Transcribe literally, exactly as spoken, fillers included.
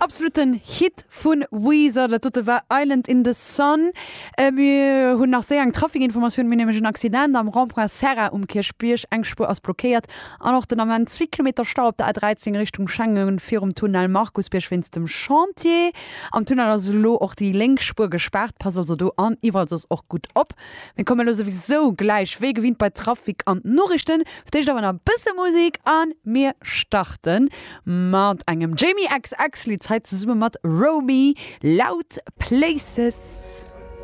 Absoluten Hit vun Weezer, dat dote war Island in the Sun. Äh, mir hunn nach séier eng Trafikinformatioun, mir hunn nämlech en Accident am Rond-point Serra um Kierchbierg, eng Spuer ass blockéiert an och den Ament zwee Kilometer Stau op der A dräizéng Richtung Schengen virum Tunnel Markusbierg wéinst dem Chantier. Am Tunnel ass elo och déi lénk Spuer gespaart, passt also do an iwwerall soss och gutt op. Mir kommen elo souwisou gläich wéi gewinnt bei Trafic an d'Noriichten. Fir d'éischt awer nach e bësse Musek an mir starten mat engem Jamie X X Lidd, hei zesumme mat Romy, Loud Places.